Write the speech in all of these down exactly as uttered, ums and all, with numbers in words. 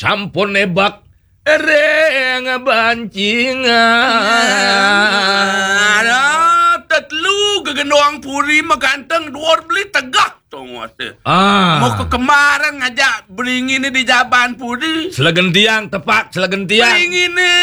Sampun nebak ring bancingan. Alah, tetelu gegendong puri maganteng duur beli tegak tongos. Ah. Mau ke kemarin ngajak beringiné di jaban puri. Selegentiang, tepak selegentiang. Beringiné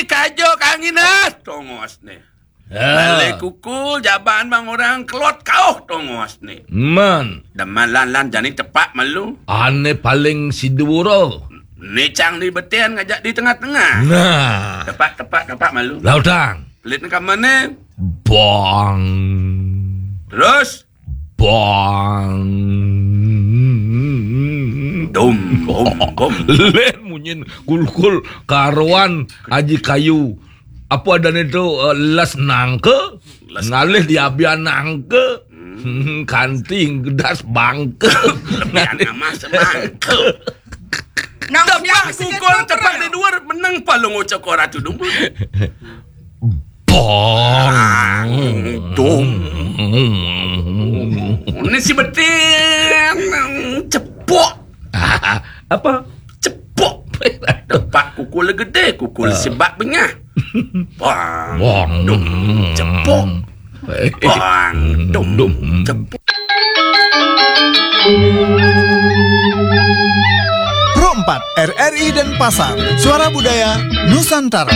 kajo kangin as tongosné. Ah. Balik kukul jaban bang orang kelot kauh tongosné. Man. Demen lan-lan jani tepak malu. Ané paling sidura. Né cang di beten ngajak di tengah-tengah. Nah. Tepak, tepak, tepak malu. Lautang. Pelit né kamané. Bang. Terus? Bang. Dum, bum, bum. Lén munyin kulkul karuan aji kayu. Apa adané to, eh, les nangka? Les ngalih diabian nangka. Hmm. Kanti gedas bangka. Lebihan amas bangka. Nang tepak kukul, tepak di duur, meneng palung ucok ora tudung. Bang. Dum. Ini si betin. Cepok. Apa? Cepok. Tepak kukul gedé, kukul sebak bengah. Bang. Bang. Dum. Cepok. Bang. Dum. Dum. Cepok. Pro empat, R R I Denpasar, Suara Budaya Nusantara.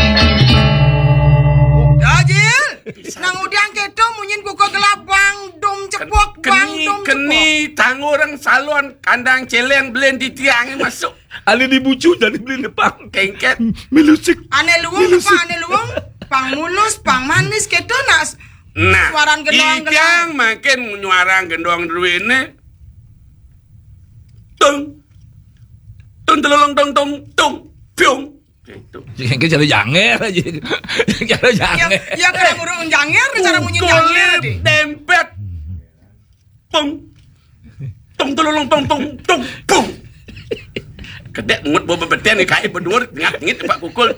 Dajil, nang udiang kéto munyin kuku gelap, bang dum cepok, bang dum cepok. Keni tangurang salon kandang céléng belin di tiang masuk. Ané di bucu jadi belin pang. Kéngkén. Milusik. Ané luung apa ané luung? Pang mulus, pang manis kéto nak. Nah, suaran gendong, itiang mangkin nyuarang gendong druéné. Tung. Tung telolong tong tong tung. Piung. Gitu. Sing cara janger aja. Cara janger. Ya, ya, kalau ngurung janger, cara munyi janger deh. Dempet. Pung. Tung telolong tong tong tung. Pung. Kedék ngut bawa bebeten nih, kayak berdua ngap ngit Pak Kukul.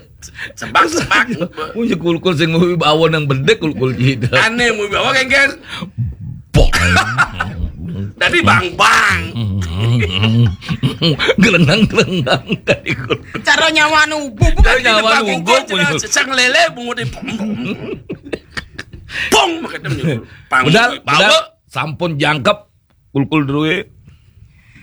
Sebak-sebak. Punya kulkul sing mau bawa nang bedek kulkul gitu. Ané mau bawa, kéngkén. Bang. Tadi bang-bang. Gelendang-gelendang tadi kulkul. Cara nyawa nubuh. Cara nyawa nubuh. Sesang lele bungut di pong. Pong, makanya pang. Udah, bawa. Udah. Sampun jangkep kulkul drué.